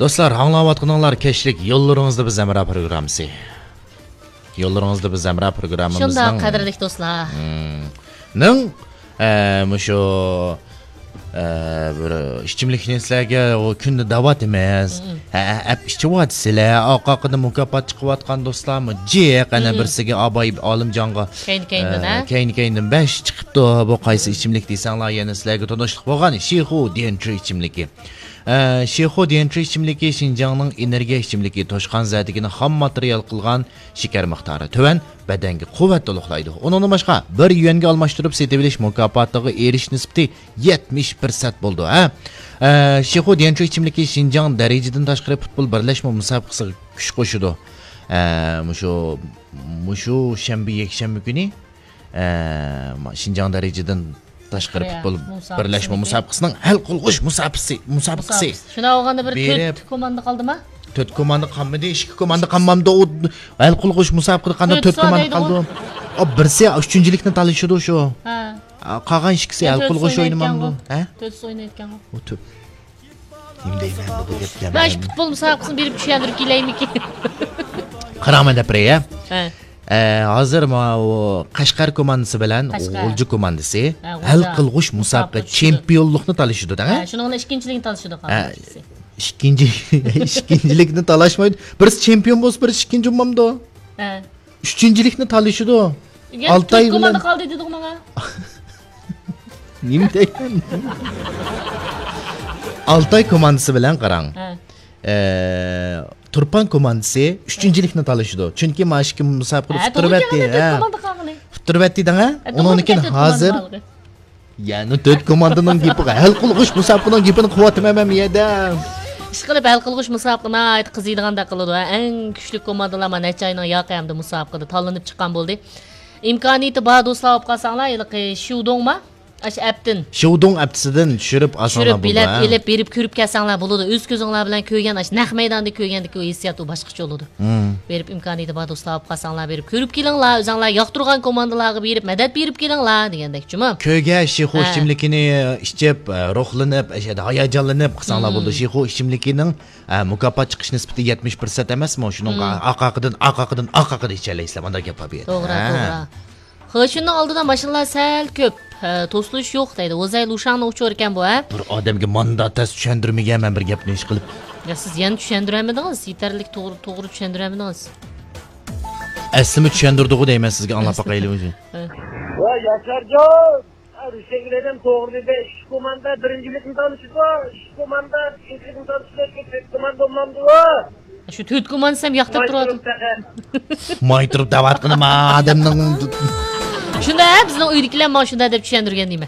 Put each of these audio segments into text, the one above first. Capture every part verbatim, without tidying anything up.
دوستلار، ئاڭلاۋاتقىنىڭلار كەچلىك يوللىرىڭىزدا بىز ھەمراھ پروگراممىسى. يوللىرىڭىزدا بىز ھەمراھ پروگراممىمىزنىڭ شۇنداق، قەدىرلىك دوستلار. مم. نىڭ، ئە، مۇشۇ، ئە، بىر ئىچىملىكنى سىلەرگە ئۇ كۈندە دەۋاتىمىز. مم. ھە، ئەپ ئىچىۋاتىسىلەر. ئارقا-ئارقىدىن مۇكاپات چىقىۋاتقان دوستلارمۇ جىق. ئەنە مم. بىرسىگە ئاباي ئالىمجانغا، كەينى-كەينىدىن، ئە، ھە؟ كەينى-كەينىدىن بەش چىقىپتۇ. بۇ قايسى مم. ئىچىملىك دېسەڭلار، يەنە سىلەرگە تونۇشلۇق بولغان شىخۇ دىيەنچۈ ئىچىملىكى. ئە، شىخۇ دىيەنچۈ ئىچىملىكى شىنجاڭنىڭ ئېنېرگىيە ئىچىملىكى، توشقان زەردىكىنى خام ماتېرىيال قىلغان، شېكەر مىقدارى تۆۋەن، بەدەنگە قۇۋۋەت تولۇقلايدۇ. ئۇنىڭدىن باشقا، بىر يۈەنگە ئالماشتۇرۇپ سېتىۋېلىش مۇكاپاتىغا ئېرىشىش نىسبىتى يەتمىش پىرسەنت بولىدۇ، ھە. ئە، شىخۇ دىيەنچۈ ئىچىملىكى شىنجاڭ دەرىجىدىن تاشقىرى پۇتبول بىرلەشمە مۇسابىقىسىغا كۈچ قوشىدۇ. ئە، مۇشۇ، مۇشۇ شەنبە، يەكشەنبە كۈنى، ئە، شىنجاڭ دەرىجىدىن تاشقىرى پۇتبول بىرلەشمە مۇسابىقىسىنىڭ ھەل قىلغۇچ مۇسابىقىسى، مۇسابىقىسى. شۇنداق بولغاندا بىر بېرىپ تۆت كوماندا قالدىما؟ تۆت كوماندا قالمىدى، ئىككى كوماندا قالمامدۇ. ئۇ ھەل قىلغۇچ مۇسابىقىدە قانداق تۆت كوماندا قالدى؟ ئا، بىرسى ئۈچىنچىلىكنى تالىشىدۇ شۇ. ھە. ئا، قالغان ئىككىسى ھەل قىلغۇچ ئوينىمامدۇ؟ ھە؟ تۆتىسى ئوينايدىكەنغۇ. ئۇ تۆت. نېمە دەيمەن بۇ گەپكە؟ مەن شۇ پۇتبول مۇسابىقىسىنى بېرىپ چۈشەندۈرۈپ كېلەيمىكىن؟ قاراڭ، مەن دەپ بېرەي، ھە؟ ھە. ئە، ھازىر ماۋۇ قەشقەر كوماندىسى بىلەن غۇلجا كوماندىسى ھە، ھەل قىلغۇش مۇسابىقە چېمپىيونلۇقنى تالىشىدۇ، دەڭە؟ ھە، شۇنىڭ بىلەن ئىككىنچىلىكنى تالىشىدۇ، ھە، قالغان ئىككىسى. ئىككىنچى، ئىككىنچىلىكنى تالاشمايدۇ. بىرسى چېمپىيون بولسا، بىرسى ئىككىنچى بولمامدۇ؟ ھە. ئۈچىنچىلىكنى تالىشىدۇ. ئالتاي بىلەن. تۆت كوماندا قالدى دېدىغۇ ماڭا. نېمە دەيمەن؟ ئالتاي كوماندىسى بىلەن قاراڭ. ھە. ئە، تۇرپان كوماندىسى ئۈچىنچىلىكنى تالىشىدۇ. چۈنكى مانا ئىككى مۇسابىقىدە ھە، ئۇتتۇرۇۋەتتى، ھە. تۆت كوماندا قالغىلى. ئۇتتۇرۇۋەتتى دەڭە. ھە، ئۇنىڭدىن كېيىن ھازىر. يەنى تۆت كوماندىنىڭ گېپىغا، ھەل قىلغۇچ مۇسابىقىنىڭ گېپىنى قىلىۋاتىمەن مەن بۇ يەردە. ئىشقىلىپ، ھەل قىلغۇچ مۇسابىقە ناھايىتى قىزىيدىغاندەك قىلىدۇ. ئەڭ كۈچلۈك كوماندىلار مانا نەچچە ئاينىڭ ياقى ئەمدى مۇسابىقىدە تاللىنىپ چىققان بولدى. ئىمكانىيىتى بار دوستلار بولۇپ قالساڭلار، ھېلىقى شيۇدوڭما؟ ئاشۇ ئەپتىن. شيۇدوڭ ئەپتىسىدىن چۈشۈرۈپ ئالساڭلار بولىدۇ، ھە؟ چۈشۈرۈپ، بىلەپ ئېلىپ، بېرىپ كۆرۈپ كەلسەڭلار بولىدۇ. ئۆز كۆزۈڭلار بىلەن كۆرگەن، ئاشۇ نەق مەيداندا كۆرگەندىكى ئۇ ھېسسىيات ئۇ باشقىچە بولىدۇ. مم. بېرىپ ئىمكانىيىتى بار دوستلار بولۇپ قالساڭلار، بېرىپ كۆرۈپ كېلىڭلار، ئۆزۈڭلار ياقتۇرغان كوماندىلارغا بېرىپ مەدەت بېرىپ كېلىڭلار دېگەندەك جۇمۇ. كۆرگەن شىخۇ ھە. ئىچىملىكىنى ئىچىپ، ئە، روھلىنىپ، ئەشەدە ھاياجانلىنىپ قىلساڭلار مم. بولىدۇ. شىخۇ ئىچىملىكىنىڭ، ئە، مۇكاپات چىقىش نىسبىتى يەتمىش پىرسەنت ئەمەسمۇ؟ شۇنىڭغا مم. ئارقا-ئارقىدىن، ئارقا-ئارقىدىن، ئارقا-ئارقىدىن ئىچەلەيسىلەر. مانداق گەپ بار بۇ يەردە. توغرا، ھە. توغرا. خېشۇننىڭ ئالدىدا ماشىنىلار سەل كۆپ، ھە، توسۇلۇش يوق دەيدۇ. ۋوزەي لۇشاڭنىڭ ئۇچۇرى ئىكەن بۇ، ھە؟ بىر ئادەمگە ماندا تەس چۈشەندۈرمىگەن مەن بىر گەپنى ئىشقىلىپ. يا، سىز يەنە چۈشەندۈرەلمىدىڭىز، يېتەرلىك توغرا، توغرا چۈشەندۈرەلمىدىڭىز. ئەسلىمۇ چۈشەندۈردىغۇ دەيمەن سىزگە، ئاڭلاپ باقايلى ئۆزى. ھە. ۋاي ياشارجان، رۇشەنگۈل ئادەم توغرا دېدى. ئىككى كوماندا بىرىنچىلىكنى تالىشىدۇ، ئىككى كوماندا ئىككىنچىلىكنى تالىشىدۇ، تۆت كوماندا بولمامدۇ؟ شۇ تۆت كوماندىسى ھەم ياقتۇرۇپ تۇرۇۋاتىدۇ. ماي تۇرۇپ دەۋاتقىنىما ئادەمنىڭ؟ شۇنداق، ھە، بىزنىڭ ئۆيدىكىلەر ماڭا شۇنداق دەپ چۈشەندۈرگەن دېمە.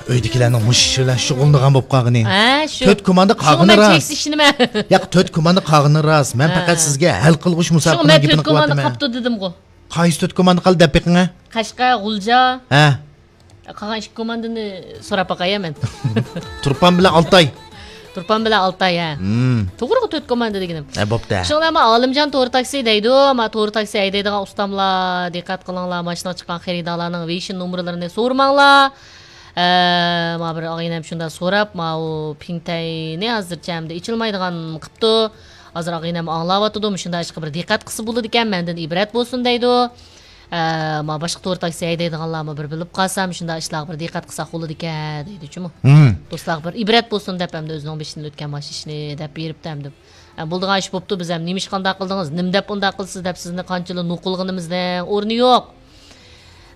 ئۆيدىكىلەرنىڭ مۇشۇ ئىش بىلەن شۇغۇللىنىدىغان بولۇپ قالغىنى. ھە، شۇ. تۆت كوماندا قالغىنى راست. ياق، تۆت كوماندا قالغىنى راست. مەن ھە. پەقەت سىزگە ھەل قىلغۇچ مۇسابىقىنىڭ گېپىنى قىلىۋاتىمەن. شۇڭا مەن تۆت كوماندا قاپتۇ دېدىمغۇ. قايسى تۆت كوماندا قالدى دەپ بېقىڭە. قەشقەر، غۇلجا. ھە. قالغان ئىككى كوماندىنى سوراپ باقاي مەن. تۇرپان بىلەن ئالتاي. تۇرپان بىلەن ئالتاي، ھە. مم. توغرىغۇ تۆت كوماندا دېگىنىم. ھە، بوپتۇ. شۇڭلار ما ئالىمجان تور تاكسى دەيدۇ، ما تور تاكسى ھەيدەيدىغان ئۇستاملار، دىققەت قىلىڭلار، ماشىنىغا چىققان خېرىدارلارنىڭ ۋېيشىن نومۇرلىرىنى سورىماڭلار. ئە، ما بىر ئاغىنەم شۇنداق سوراپ، ماۋۇ پىڭتەينى ھازىرچە ئەمدى ئېچىلمايدىغان قىپتۇ. ھازىر ئاغىنەم ئاڭلاۋاتىدۇ، مۇشۇنداق ئىشقا بىر دىققەت قىلسا بولىدىكەن، مەندىن ئىبرەت بولسۇن دەيدۇ. ئە، ما باشقا تور تاكسى ھەيدەيدىغانلارمۇ بىر بىلىپ قالسا، مۇشۇنداق ئىشلارغا بىر دىققەت قىلساق بولىدىكەن دەيدۇ جۇمۇ. مم. دوستلارغا بىر ئىبرەت بولسۇن دەپ ئەمدى ئۆزىنىڭ بېشىدىن ئۆتكەن مانا شۇ ئىشنى دەپ بېرىپتۇ ئەمدى. ئە، بولىدىغان ئىش بوپتۇ، بىز ھەم نېمە ئىش قانداق قىلدىڭىز، نېمە دەپ ئۇنداق قىلىسىز دەپ سىزنى قانچىلا نوقۇل قىلغىنىمىزنىڭ ئورنى يوق.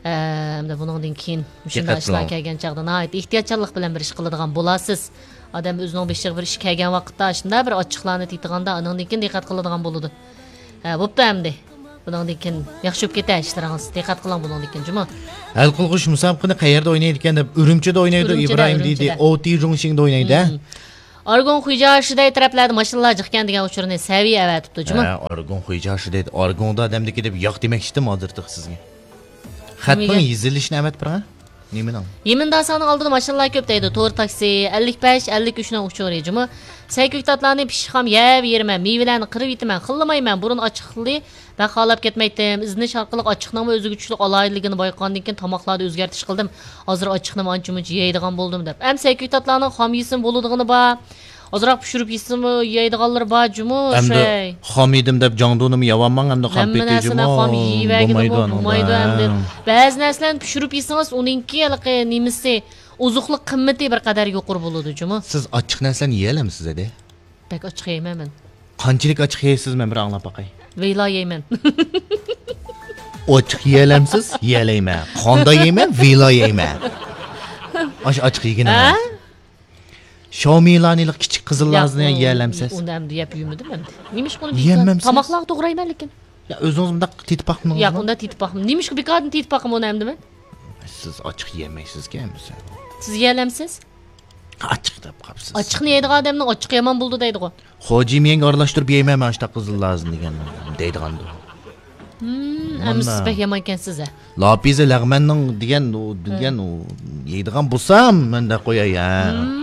ئەمدى بۇنىڭدىن كېيىن مۇشۇنداق دىققەت ئىشلار قىلىڭ. كەلگەن چاغدا ناھايىتى ئېھتىياتچانلىق بىلەن بىر ئىش قىلىدىغان بولارسىز. ئادەم ئۆزىنىڭ بېشىغا بىر ئىش كەلگەن ۋاقىتتا شۇنداق بىر ئاچچىقلارنى تېتىغاندا ئانىڭدىن كېيىن دىققەت قىلىدىغان بولىدۇ. ھە، بوپتۇ ئەمدى. بۇنىڭدىن كېيىن ياخشى بولۇپ كېتە ئىشلىرىڭىز. دىققەت قىلىڭ بۇنىڭدىن كېيىن جۇمۇ. ھەل قىلغۇچ مۇسابىقىنى قەيەردە ئوينايدىكەن دەپ ئۈرۈمچىدە ئوينايدۇ ئۈرۈمچىدە، ئىبراھىم دېدى. ئۈرۈمچىدە. ئوتى جۇڭشىڭدا ئوينايدۇ. مم. ئارگۇن خۇيجاشىدەي تەرەپلەردە ماشىنىلار جىقكەن دېگەن ئۇچۇرنى سەۋىيە ئەۋەتىپتۇ جۇمۇ. ھە، ئارگۇن خۇيجاشىدەي، ئارگۇندا ئادەمدىكى دەپ ياق دېمەكچىدىم ھازىر تېخى سىزگە. خەتنىڭ نېمىگە؟ يېزىلىشىنى ئەۋەتىپ بېرىڭە. نېمىنىڭ؟ يېمىن داسانىڭ ئالدىدا ماشىنىلار كۆپ دەيدۇ، تور تاكسى، ئەللىك بەش، ئەللىك ئۈچنىڭ ئۇچۇرى جۇمۇ. سەي كۆكتاتلارنى پىششىقام يەۋېرىمەن، مېۋىلەرنى قىرىۋېتىمەن، خىللىمايمەن، بۇرۇن ئاچچىقلى بەك خالاپ كەتمەيتتىم. ئىزدىنىش ئارقىلىق ئاچچىقنىڭمۇ ئۆزىگە چۈشلۈك ئالاھىدىلىكىنى بايقىغاندىن كېيىن تاماقلاردا ئۆزگەرتىش قىلدىم. ھازىر ئاچچىقنىمۇ ئانچە-مۇنچە يەيدىغان بولدۇم دەپ. ئەمما سەي كۆكتاتلارنىڭ خام يېسىمۇ بولىدىغىنى بار. ئازراق پىشۇرۇپ يېسىمۇ يەيدىغانلىرى بار جۇمۇ، ئەمدى شەي. خام يېدىم دەپ جاڭدۇنىمۇ يەۋالماڭ، ئەمدى خام ھەممە پېتى نەرسىنى جۇمۇ. خام يېيىۋەرگىلىمۇ بولمايدۇ ئانىڭدا. بولمايدۇ ئەمدى. بەزى نەرسىلەرنى پىشۇرۇپ يېسىڭىز، ئۇنىڭكى ھېلىقى نېمىسى، ئوزۇقلۇق قىممىتى بىر قەدەر يۇقىرى بولىدۇ جۇمۇ. سىز ئاچچىق نەرسىلەرنى يېيەلەمسىز ئەدى؟ بەك ئاچچىق يەيمەن مەن. قانچىلىك ئاچچىق يەيسىز، مەن بىر ئاڭلاپ باقاي. ۋېلا يەيمەن. ئاچچىق يېيەلەمسىز؟ يېيەلەيمەن. قاندا يەيمەن، ۋېلا يەيمەن. ئاش-، ئاچچىق يېگىنىڭىز. ھە؟ شاۋمىلانىلىق كىچىك قىزىللارنى يەيەلەمسىز؟ ئۇنى ئەمدى يەپ يۈرمىدىم ئەمدى. نېمىشقا ئۇنى يېيەلمەمسىز؟ تاماقلارغا توغرايمەن لېكىن. يا، ئۆزىڭىز مۇنداق تېتىپ باقمىدىڭىزمۇ؟ ياق، ئۇنداق تېتىپ باقمىدىم. نېمىشقا بىكاردىن تېتىپ باقىمەن ئۇنى ئەمدى مەن؟ سىز ئاچچىق يېمەيسىزكەن، بىلسەم. سىز يېيەلەمسىز؟ ئاچچىق دەپ قاپسىز. ئاچچىقنى يەيدىغان ئادەمنىڭ ئاچچىقى يامان بولىدۇ دەيدىغۇ. خوجا يېمىيەنگە ئارىلاشتۇرۇپ يەيمەن مەن ئاشۇنداق قىزىللارنى دېگەن، دەيدىغاندۇ. ھىم، ئەمما سىز بەك يامانكەنسىز ھە. لاپىزى لەغمەننىڭ دېگەن، ئۇ، دېگەن، ئۇ، يەيدىغان بولسام، مەن دەپ قوياي ھە. ھىم.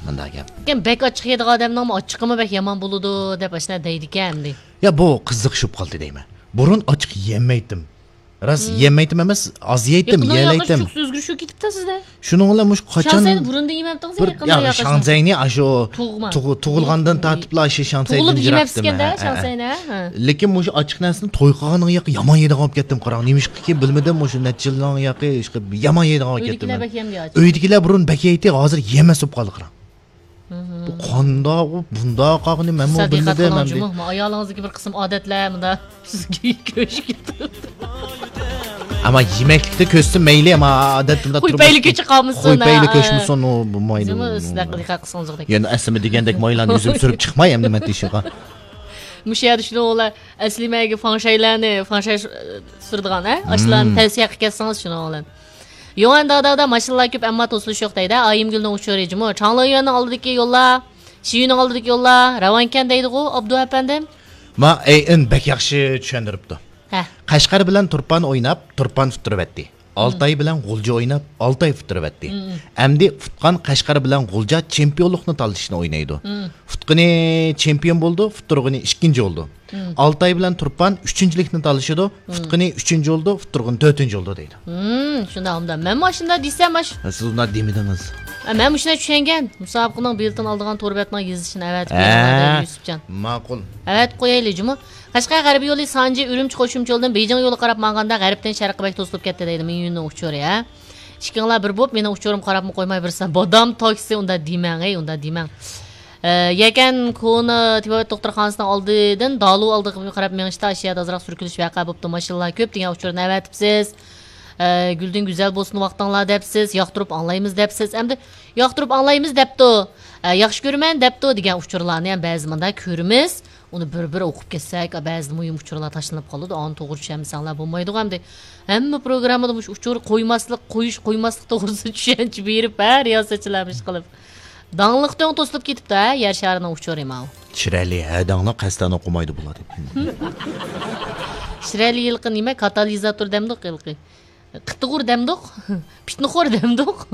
مۇنداق گەپ. لېكىن بەك ئاچچىق يەيدىغان ئادەمنىڭمۇ ئاچچىقىمۇ بەك يامان بولىدۇ دەپ ئاشۇنداق دەيدىكەن ئەمدى. يا، بۇ قىزىقىشىپ قالدى دەيمەن. بۇرۇن ئاچچىق يېمەيتتىم. راست، يېمەيتتىم ئەمەس، ئاز يەيتتىم، يېيەلەيتتىم. شۇ ئۆزگىرىش بولۇپ كېتىپتۇ سىزدە. شۇنىڭ بىلەن مۇشۇ قاچان شاڭسەينى بۇرۇن دېيىمەپتىڭىز، بىر، يېقىندا يا، ياقىشنى. شاڭسەينى ئاشۇ تۇغما. تۇغ-، تۇغۇلغاندىن تارتىپلا ئاشۇ شاڭسەيدىن تۇغۇلۇپ يېمەپسىكەن-دە، يىراقتىم. شاڭسەينى، ھە. لېكىن مۇشۇ ئاچچىق نەرسىنى توي قىلغاندىن ياقى يامان يەيدىغان بولۇپ كەتتىم، قاراڭ. نېمىشقىكىن بىلمىدىم، مۇشۇ نەچچە يىلدىن ياقى يامان يەيدىغان بولۇپ كەتتىم. ئۆيدىكىلەر بەك يەمدى ئاچچىق. ئۆيدىكىلەر بۇرۇن بەك يەيتتى، ھازىر يېمەس بولۇپ قالدى، قاراڭ. بۇ قانداق، بۇ بۇنداق قالغىنى مەنمۇ بىلمىدىم ئەمدى. سىز دىققەت قىلىڭ جۇمۇ، مانا ئايالىڭىزدىكى بىر قىسىم ئادەتلەر مۇنداق سىزگە كۆچۈپ كېتىدۇ. ئەمما يېمەكلىكتە كۆچسۇن مەيلى، ئەمما ئادەت بۇنداق قوي پەيلى كۆچۈپ قالمىسۇن، قوي پەيلى كۆچمىسۇن، ئۇ بولمايدۇ. جۇمۇ، سىلەر دىققەت قىلسىڭىزدەك. يەنە ئەسلىمە دېگەندەك مايلارنى يۈزۈم سۈرۈپ چىقماي ئەمدى مەن تېشىغا. مۇشۇ يەردە شۇنىڭ بىلەن ئەسلىمەگە فاڭشەيلەرنى، فاڭشەي سۈرىدىغان، ھە؟ ئاشۇلارنى تەۋسىيە قىلىپ كەتسىڭىز شۇنىڭ بىلەن. يوڭئەن دادا، ماشىنىلار كۆپ، ئەمما توسۇلۇش يوق دەيدۇ. ئايىمگۈلنىڭ ئۇچۇرى جۇمۇ. چاڭلىيۈەننىڭ ئالدىدىكى يوللار، شىيۈنىڭ ئالدىدىكى يوللار راۋانكەن دەيدىغۇ، ئابدۇ ئەپەندىم. ما، ئەي، ئىن بەك ياخشى چۈشەندۈرۈپتۇ. ھە. قەشقەر بىلەن تۇرپان ئويناپ، تۇرپان ئۇتتۇرۇۋەتتى. ئالتاي بىلەن غۇلجا ئويناپ، ئالتاي ئۇتتۇرۇۋەتتى. ئەمدى ئۇتقان قەشقەر بىلەن غۇلجا چېمپىيونلۇقنى تالىشىشنى ئوينايدۇ. ئۇتقىنى چېمپىيون بولىدۇ، ئۇتتۇرغىنى ئىككىنچى بولىدۇ. ئالتاي بىلەن تۇرپان ئۈچىنچىلىكنى تالىشىدۇ، ئۇتقىنى ئۈچىنچى بولىدۇ، ئۇتتۇرغىنى تۆتىنچى بولىدۇ دەيدۇ. ھىم، شۇنداق، ئۇنداق. مەنمۇ ئاشۇنداق دېسەم، ئاش-، ھە، سىز ئۇنداق دېمىدىڭىز. ھە، مەن مۇشۇنداق چۈشەنگەن. مۇسابىقىنىڭ بېلىتىنى ئالىدىغان تور بەتنىڭ يېزىشىنى ئەۋەتىپ بېرىڭ، ھە، دەيدۇ يۈسۈپجان. ماقۇل. ئەۋەتىپ قويايلى جۇمۇ. قەشقەر غەربىي يولى سانجى ئۈرۈمچى قوشۇمچە يولىدىن بېيجىڭ يولىغا قاراپ ماڭغاندا غەربتىن شەرققە بەك توسۇلۇپ كەتتى دەيدۇ مىڭيۈننىڭ ئۇچۇرى، ھە. ئىككىڭلار بىر بولۇپ مېنىڭ ئۇچۇرۇمغا قاراپمۇ قويماي بېرىسەن. بادام تاكسى، ئۇنداق دېمەڭ، ھەي، ئۇنداق دېمەڭ. ئە، يەكەن كونا تېبابەت دوختۇرخانىسىنىڭ ئالدىدىن دالۇ ئالدىغا قاراپ مېڭىشتا ئاشۇ يەردە ئازراق سۈركىلىش ۋەقە بوپتۇ، ماشىنىلار كۆپ دېگەن ئۇچۇرنى ئەۋەتىپسىز. ئە، گۈلدىن گۈزەل بولسۇن ۋاقتىڭلار دەپسىز، ياقتۇرۇپ ئاڭلايمىز دەپسىز. ئەمدى ياقتۇرۇپ ئاڭلايمىز دەپتۇ. ئە، ياخشى كۆرىمەن دەپتۇ دېگەن ئۇچۇرلارنى ھەم بەزى مۇنداق كۆرىمىز. ئۇنى بىر-بىر ئوقۇپ كەتسەك، بەزىدە مۇھىم ئۇچۇرلار تاشلىنىپ قالىدۇ. ئانى توغرا چۈشەنمىسەڭلار بولمايدىغۇ ئەمدى. ھەممە پروگراممىدا مۇشۇ ئۇچۇر قويماسلىق، قويۇش، قويماسلىق توغرىسىدا چۈشەنچە بېرىپ، ھە، رىياسەتچىلەر ئىش قىلىپ. داڭلىق تۆڭ توسۇلۇپ كېتىپتۇ، ھە، يەر شارىنىڭ ئۇچۇرى ماۋۇ. چىرايلىق، ھە، داڭلىق قەستەن ئوقۇمايدۇ بۇلار دەپ. چىرايلىق ھېلىقى نېمە، كاتالىزاتور دەمدۇق ھېلىقى. قىتىغۇر دەمدۇق، پىتنىخور دەمدۇق.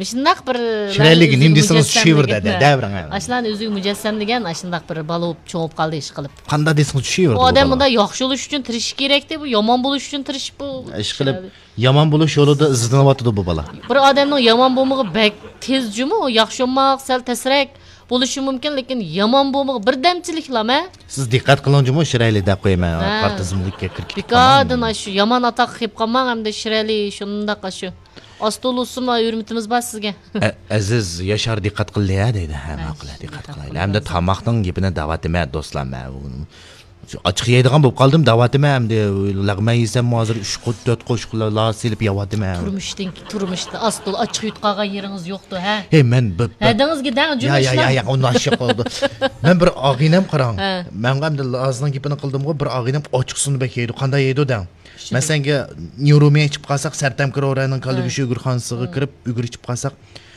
مۇشۇنداق بىر شىرەلىگە نېمە دېسىڭىز چۈشىۋېرىدۇ، دەۋرىڭ. ئاشۇلارنى ئۆزىگە مۇجەسسەم دېگەن، ئاشۇنداق بىر بالا بولۇپ، چوڭ بولۇپ قالدى ئىش قىلىپ. قانداق دېسىڭىز چۈشىۋېرىدۇ. ئۇ ئادەم مۇنداق ياخشى بولۇش ئۈچۈن تىرىشىش كېرەكتى، بۇ يامان بولۇش ئۈچۈن تىرىشىپ بۇ ئىش قىلىپ. يامان بولۇش يولىدا ئىزدىنىۋاتىدۇ بۇ بالا. بىر ئادەمنىڭ يامان بولمىغى بەك تېز جۇمۇ، ياخشى بولماق سەل تەسرەك بولۇشى مۇمكىن، لېكىن يامان بولمىغى بىردەمچىلىكلا مە. سىز دىققەت قىلىڭ جۇمۇ، شىرەلىك دەپ قويىمەن، ھە. قارا تىزىملىككە كىرىپ كېتىپ قالماڭ. بىكاردىن ئاشۇ يامان ئاتاققا كېلىپ قالماڭ، ئەمدى شىرەلى شۇنداق ئاشۇ. ئاستول ئۇسسۇلما ھۆرمىتىمىز بار سىزگە. ئە-، ئەزىز ياشار دىققەت قىلدى ھە دەيدۇ. ھە، ماقۇل، دىققەت قىلايلى. ئەمدى تاماقنىڭ گېپىنى دەۋاتىمەن دوستلار، مەن ئاچچىق يەيدىغان بولۇپ قالدىم دەۋاتىمەن، ئەمدى لەغمەن يېسەممۇ ھازىر ئۈچ قوش، تۆت قوش لا سېلىپ يەۋاتىمەن. تۇرمۇشتىن، تۇرمۇشتا ئاستول ئاچچىق يۇتقاغان يېرىڭىز يوقتۇ ھە؟ ھەي، مەن بىر، بىر ھەدىڭىزگە دەڭ، يا، يا، يا، يا، ئۇنداق ئىش يوق بولىدۇ. مەن بىر ئاغىنەم قاراڭ. ھە. مەنغۇ ئەمدى لازنىڭ گېپىنى قىلدىمغۇ، بىر ئاغىنەم ئاچچىق سۇنى بەك يەيدۇ. قانداق يەيدۇ دەڭ؟ مەسىلەن، نيۇرومىيە ئىچىپ قالساق، سەرتەمكە روراينىڭ كاللىگۈشى ئۈگرىخانىسىغا كىرىپ، ئۈگرە ئىچىپ قالساق،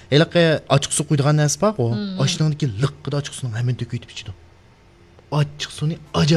ھېلىقى ئاچچىق سۇ قۇيىدىغان نەرسە بارغۇ، ئاشۇنىڭدىكى لىققىدە ئاچچىق سۇنىڭ ھەممىنى تۆكۈۋېتىپ ئىچىدۇ. ئاچچىق سۇنى ئاجايىپ